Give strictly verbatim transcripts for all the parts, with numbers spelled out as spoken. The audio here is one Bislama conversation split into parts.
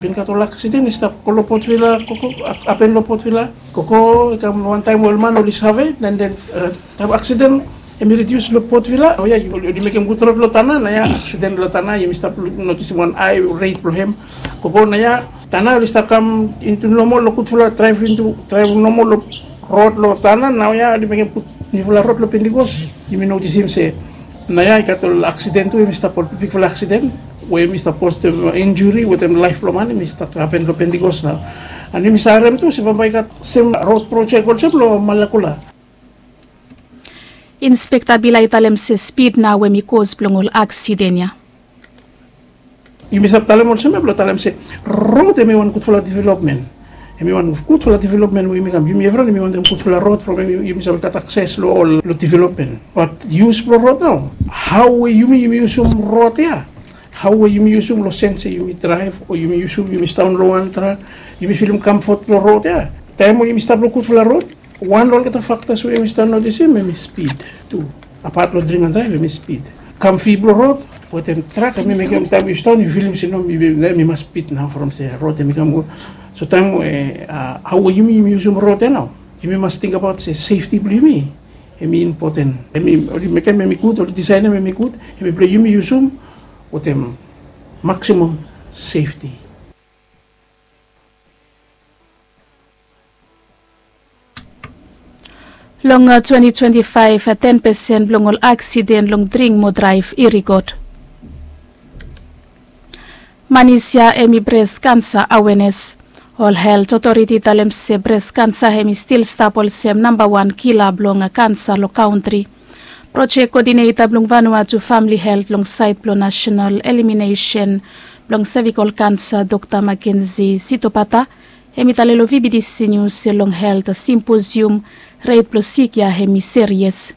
Bin gat ol aksiden i stap go long Port Vila, koko, hapen long Port Vila. Koko i kam wantaem ol man oli save, and then taem aksiden hem i ridius long Port Vila, o ya, oli mekem gud rod long Tanna. Naoia aksiden long Tanna, yumi stap notisim wan hae ret blong hem. Koko, naoia Tanna oli stap kam into normal long gudfala draev into, draev normal long rod long Tanna. Naoia oli mekem gud niufala rod long Pentikos. Yumi notisim se naoia i gat ol aksiden tu, yumi stap ol bigbigfala aksiden we yumi stap postem injuri wetem laef blong man, yumi stap hapen long Pentikos nao. And yumi save harem tu se bambae i gat sem rod projek olsem long Malakula. Inspekta Bila i talem se spid nao hem i kos blong ol aksiden ya. Yumi stap talem olsem ya blong talem se rod hem i wan gudfala developmen. Hem i wan gudfala developmen we yumi kam, yumi evriwan yumi wantem gudfala rod from hem yumi save gat akses long ol long developmen. Bat yus blong rod nao, hao we yumi, yumi yusum rod ya, hao we yumi yusum long sen se yumi draev o yumi yusum, yumi sidaon long wan trak, yumi filim kamfot long rod ya. Taem we yumi stap long gudfala rod, wan long olgeta faktas we yumi stap notisim hem i spid tu. Apat long dring and draev hem i spid. Kamfi blong rod wetem trak hem i mekem taem yu sidaon yu filim se no, mi, mi, mi mas spid nao from se rod hem i kam go. So taem we, a, hao we yumi, yumi yusum rod ya nao, yumi mas tingbaot se sefti blong yumi hem i impoten. Hem i, oli mekem hem i gud, oli disaenem hem i gud, hem i blong yumi yusum wetem maksimam sefti. Long twenti twenti faef, ten pesen blong ol aksiden long dring mo draev i rikod. Manis ya hem i bres kansa awenes. Ol helt otoriti i talem se bres kansa hem i stil stap olsem nambawan kila blong kansa long kantri. Projek kodineta blong Vanuatu Famili Helt long saed blong Nasenal Eliminesen blong Sevikol Kansa, Dokta Makenzi Sitopata, hem i talem long VBTC Nius se long helt simposium, ret blong sik ya hem i serias.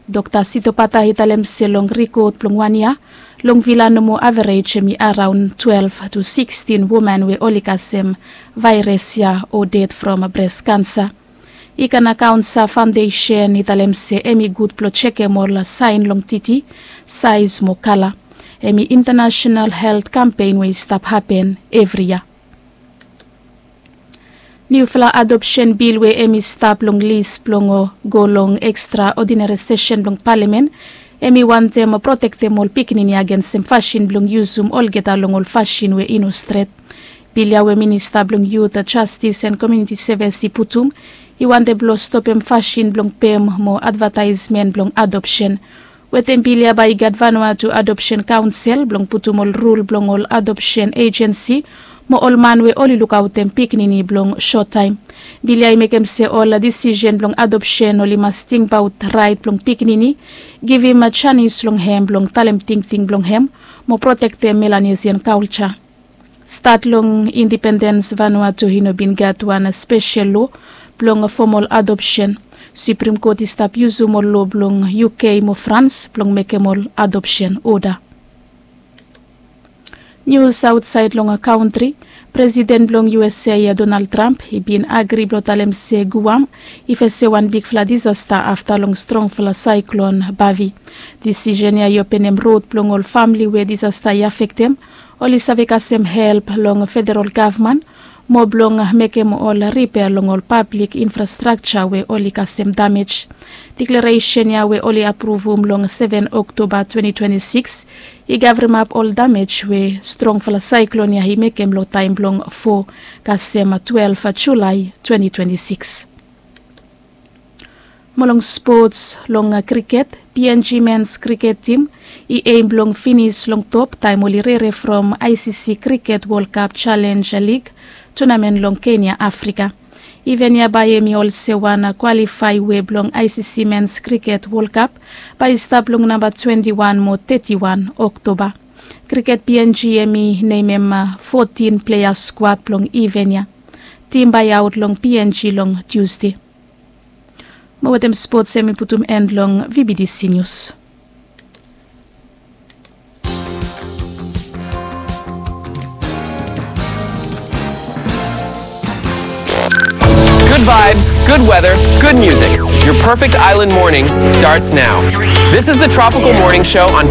Dokta Sitopata i talem se long rikod blong wan yia, long Vila nomo averej hem i araon twelef tu sikstin woman we oli kasem vaeres ya o ded from bres kansa. I kan akaonsa faondesen i talem se hem i gud blong jekem ol saen long titi, saes mo kala. Hem i intanasenal helt kampen we i stap hapen evri yia. Niufala adopsen bil we hem i stap long lis blong go long ekstra odinari sesen blong palamen, hem i wantem protektem ol pikinini agensem fasin blong yusum olgeta long ol fasin we i no stret. Bil ya we minista blong yut, jastis and komuniti sevis i putum, i wantem blong stopem fasin blong pem mo advataesmen blong adopsen. Wetem bil ya bae i gat Vanuatu Adopsen Kaonsel blong putum ol rul blong ol adopsen ejensi mo ol man we oli lukaotem pikinini blong sot taem. Bil ya i mekem se ol disisen blong adopsen oli mas tingbaot raet blong pikinini, givim janis long hem blong talem tingting blong hem mo protektem Melanesian kalja. Stat long indipendens Vanuatu i no bin gat wan spesel loa blong fomol adopsen. Suprem Kot i stap yusum ol loa blong UK mo Frans blong mekem ol adopsen oda. Nius aotsaed long kantri, Presiden blong USA ya Donald Trump i bin agri blong talem se Guam i fesem wan bigfala disasta afta long strongfala saeklon Bavi. Disisen ya i openem rod blong ol famili we disasta i afektem oli save kasem help long federal gavman mo blong mekem ol ripea long ol pablik infrastrakja we oli kasem damej. Deklaresen ya we oli apruvum long seven Oktoba twenti twenti sikis i gavremap ol damej we strongfala saeklon ya i mekem long taem blong fo kasem twelef Julae twenti twenti sikis. Mo long spots, long kriket, PNG mens kriket tim i eim blong finis long top taem oli rere from ICC Cricket World Cup Challenge League tonamen long Kenya, Afrika. Iven ya bae hem i olsem wan kwalifae we blong ICC Mens Cricket World Cup bae i stap long namba twenti wan mo teti wan Oktoba. Kriket PNG hem i nemem fotin plea skuad blong iven ya. Tim bae i aot long PNG long Tusde. Mo wetem spots hem i putum en long VBTC Nius. Good vibes, good weather, good music. Your perfect island morning starts now. This is the Tropical Morning Show on